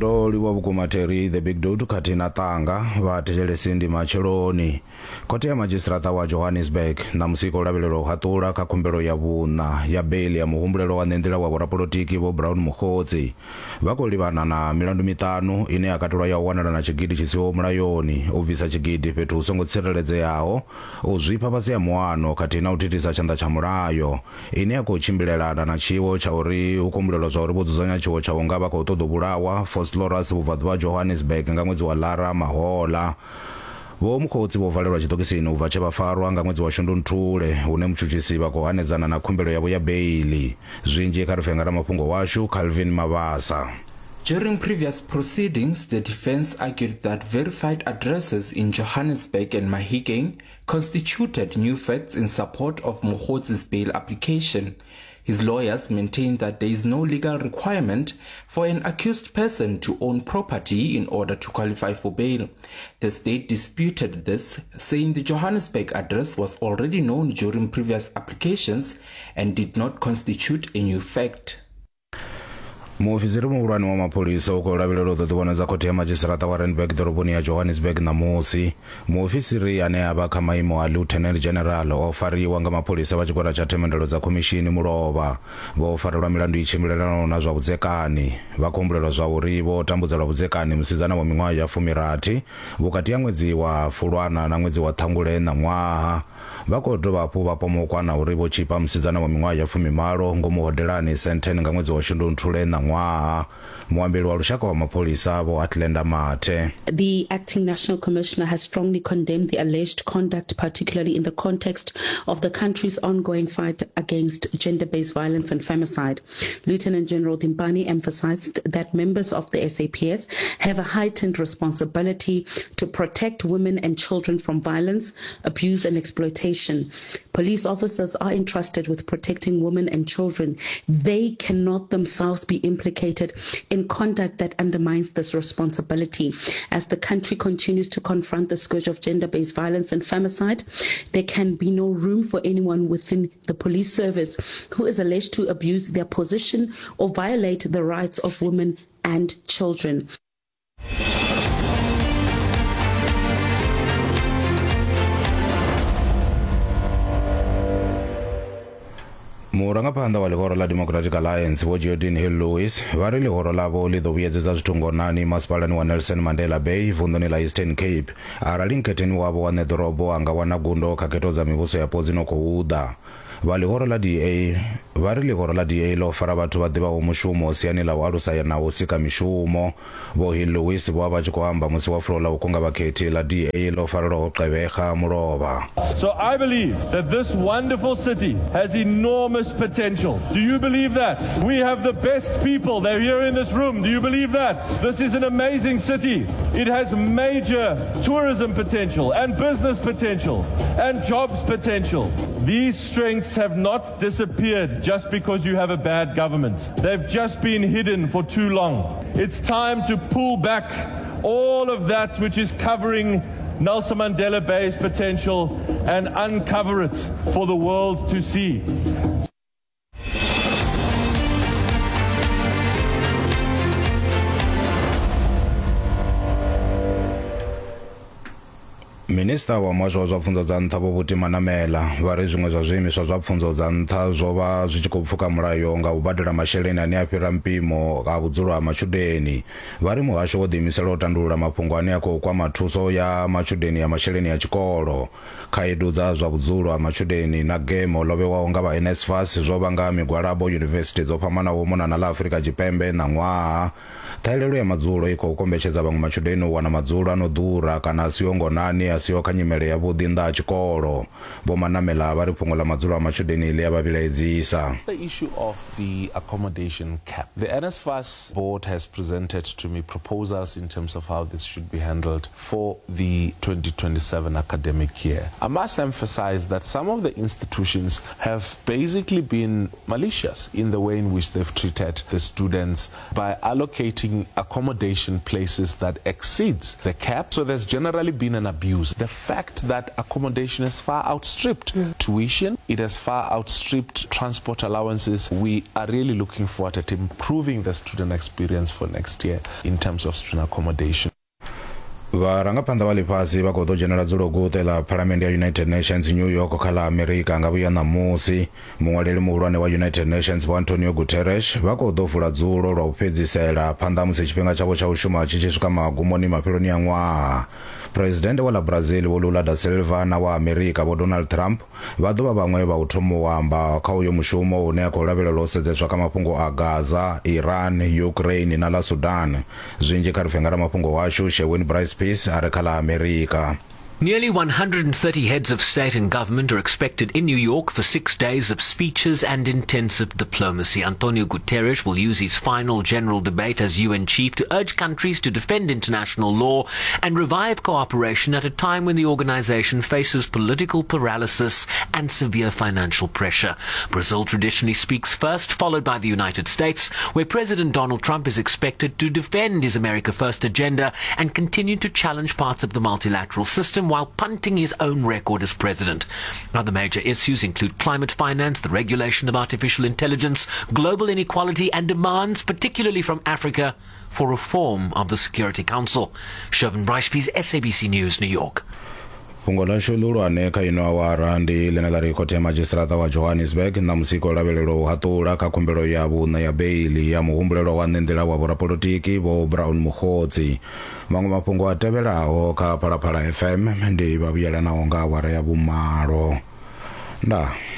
Ndo livhuwa vhukuma Terry the Big Dude khathihi na Ṱanga vha thetshelesi ndi matsheloni. Khothe ya madzhisiṱiraṱa wa Johannesburg ṋamusi i khou lavhelelwa u haṱula kha khumbelo ya vhuṋa ya beiḽi ya muhumbulelwa wa ṋenḓila wa vhorapolotiki Vho Brown Mogotsi. Vha khou livhana na milandu miṱanu ine ya katelwa ya u wanala na tshigidi tshi siho mulayoni, u bvisa tshigidi fhethu hu songo tsireledzeaho, u zwifha fhasi ha muano khathihi na u thithisa tshanḓa tsha mulayo, ine ya khou tshimbilelana na tshiwo tsha uri hu khou humbulelwa zwa uri vho dzudzanya tshiwo tsha u nga vha khou ṱoḓa u vhulawa Vosloorus vhubvaḓuvha ha Johannesburg nga ṅwedzi wa Lara mahoḽa. Vho Mkhotsi vho valelwa tshiṱokisini u bva tshe vha farwa nga ṅwedzi wa Shundunthule, hune mutshutshisi vha khou hanedzana na khumbelo yavho ya beiḽi. Zwinzhi kha ri pfe nga ramafhungo washu Calvin Mabasa. During previous proceedings, the defense argued that verified addresses in Johannesburg and Mahikeng constituted new facts in support of Mogotsi's bail application. His lawyers maintain that there is no legal requirement for an accused person to own property in order to qualify for bail. The state disputed this, saying the Johannesburg address was already known during previous applications and did not constitute a new fact. Muofisiri muhulwane wa mapholisa u khou lavhelelwa u ḓo ḓivhonadza khothe ya madzhisiṱiraṱa wa Randburg ḓoroboni ya Johannesburg ṋamusi. Muofisiri ane a vha kha maimo a Lieutenant General o fariwa nga mapholisa vha tshigwada tsha themendelo dza khomishini mulovha. Vho farelwa milandu i tshimbilelanaho na zwa vhudzekani. Vha khou humbulelwa zwa uri vho tambudza lwa vhudzekani musidzana wa miṅwaha ya fumirathi vhukati ha ṅwedzi wa Fulwana na ṅwedzi wa Ṱhangule ṋaṅwaha. Vha khou dovha hafhu vha pomokwa na uri vho tshipa musidzana wa miṅwaha ya fumimalo ngomu hodelani Sandton nga ṅwedzi wa Shundunthule ṋaṅwaha. Muambeli wa lushaka wa mapholisa Vho Athlenda Mathe. The acting national commissioner has strongly condemned the alleged conduct, particularly in the context of the country's ongoing fight against gender-based violence and femicide. Lieutenant General Dimpane emphasized that members of the SAPS have a heightened responsibility to protect women and children from violence, abuse and exploitation. Police officers are entrusted with protecting women and children. They cannot themselves be implicated in conduct that undermines this responsibility. As the country continues to confront the scourge of gender based violence and femicide, there can be no room for anyone within the police service who is alleged to abuse their position or violate the rights of women and children. Murangaphanḓa wa ḽihoro ḽa Democratic Alliance Vho Geordin Hill Lewis vha ri ḽihoro ḽavho ḽi ḓo vhuyedzedza zwithu ngonani masipalani wa Nelson Mandela Bay vunḓuni ḽa Eastern Cape arali nkhetheni wavho wa ṋeḓorobo a nga wana gundo kha khetho dza mivhuso yapo dzi no khou ḓa. Vha ḽihoro ḽa DA vha ri ḽihoro ḽa DA ḽo fara vhathu vha ḓivhaho mushumo siani ḽa u alusa na u sika mishumo. Vho Hill Lewis vho vha vha tshi khou amba musi wa fulo ḽa u kunga vhakhethi ḽa DA ḽo farelwaho Gqeberha mulovha. So I believe that this wonderful city has enormous potential. Do you believe that? We have the best people. They're here in this room. Do you believe that? This is an amazing city. It has major tourism potential and business potential and jobs potential. These strengths have not disappeared just because you have a bad government. They've just been hidden for too long. It's time to pull back all of that which is covering Nelson Mandela Bay's potential and uncover it for the world to see. Minisiṱa wa Muhasho wa zwa Pfunzo dza Nṱha Vho Buti Manamela vha ri zwiṅwe zwa zwiimiswa zwa pfunzo dza nṱha zwo vha zwi tshi khou pfuka mulayo nga u badela masheleni ane a fhira mpimo a vhudzulo ha matshudeni. Vha ri muhasho wo ḓiimisela u tandulula mafhungo ane a khou kwama thuso ya matshudeni ya masheleni a tshikolo. Khaedu dza zwa vhudzulo ha matshudeni na gemo ḽo vhewaho nga vha NSFAS zwo vhanga migwalabo yunivesithi dzo fhambanaho u mona na ḽa Afrika Tshipembe ṋaṅwaha. Ṱhahelelo ya madzulo i khou kombetshedza vhaṅwe matshudeni u wana madzulo a no ḓura kana a siho ngonani a siho kha nyimele yavhuḓi nnḓa ha tshikolo. Vho Manamela vha ri fhungo ḽa madzulo a matshudeni ḽi a vha vhilaedzisa. The issue of the accommodation cap. The NSFAS board has presented to me proposals in terms of how this should be handled for the 2027 academic year. I must emphasize that some of the institutions have basically been malicious in the way in which they've treated the students by allocating accommodation places that exceeds the cap. So there's generally been an abuse. The fact that accommodation has far outstripped tuition, it has far outstripped transport allowances. We are really looking forward at improving the student experience for next year in terms of student accommodation. Vharangaphanḓa vha ḽifhasi vha khou ḓo dzhenela dzulo guṱe ḽa phalamennde ya United Nations New York kha ḽa Amerika nga vhuya ṋamusi. Muṅwaleli muhulwane wa United Nations Vho Antonio Guterres vha khou ḓo vula dzulo lwa u fhedzisela phanḓa musi tshifhinga tshavho tsha u shuma tshi tshi swika magumoni mafheloni a ṅwaha. Phuresidennde wa ḽa Brazil Vho Lula da Silva na wa Amerika Vho Donald Trump vha ḓo vha vhaṅwe vha u thoma u amba kha uyo mushumo une a khou lavhelelwa u sedzeswa kha mafhungo a Gaza, Iran, Ukraine na ḽa Sudan. Zwinzhi kha ri pfe nga ramafhungo washu Sherwin Bryce Peace a re kha ḽa Amerika. Nearly 130 heads of state and government are expected in New York for 6 days of speeches and intensive diplomacy. Antonio Guterres will use his final general debate as UN chief to urge countries to defend international law and revive cooperation at a time when the organization faces political paralysis and severe financial pressure. Brazil traditionally speaks first, followed by the United States, where President Donald Trump is expected to defend his America First agenda and continue to challenge parts of the multilateral system while punting his own record as president. Other major issues include climate finance, the regulation of artificial intelligence, global inequality, and demands, particularly from Africa, for reform of the Security Council. Shervin Bryce, SABC News, New York. Fhungo ḽashu ḽihulwane kha ino awara ndi ḽine ḽa ri khothe ya madzhisiṱiraṱa wa Johannesburg ṋamusi i khou lavhelelwa u haṱula kha khumbelo ya vhuṋa ya beili ya muhumbulelwa wa ṋenḓila wa vhorapolotiki Vho Brown Mogotsi. Maṅwe mafhungo a tevhelaho kha Phalaphala FM ndi vha vhuyelanaho nga awara ya vhumalo. Ndaa.